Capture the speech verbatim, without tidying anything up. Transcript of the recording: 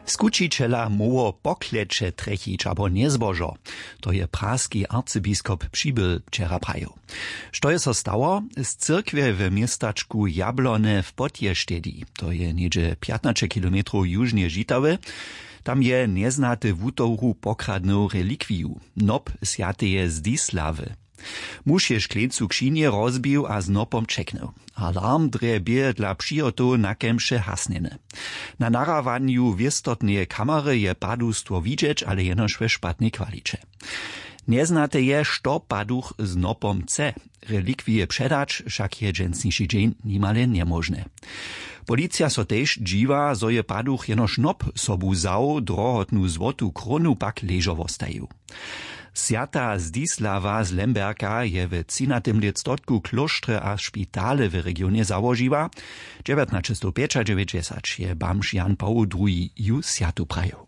Skućićela móhło pokleće trjechić abo njezbožo. To je praski arcybiskop přibyl wčera prajił. Što je so stało? Z cyrkwje w městačku Jablone w Podještedźi, to je něhdźe pjatnaće kilometrow južnje Žitawy, tam je njeznaty wutowru pokradnył relikwiju, nop swjateje Zdislawy. Muž je škleńcu křinje rozbił a z nopom ćeknył. Alarm drje bě dla přihotow na kemše hasnjeny. Na nahrawanju wěstotneje kamery je padustwo widźeć, ale jenož we špatnej kwaliće. Njeznate je, što paduch z nopom chce. Relikwije předać, wšak je dźensniši dźeń nimale njemóžne. Policija so tež dźiwa, zo je paduch jenož nop sobu wzał, drohotnu złotu krónu pak ležo wostajił. Swjata Zdislawa z Lemberka je w třinatym lětstotku klóštrje a špitale w regionje załožiła. Dźewjatnaćestowpjećadźewjećdźesać je bamž Jan Pawoł druhi ju swjatu prajił.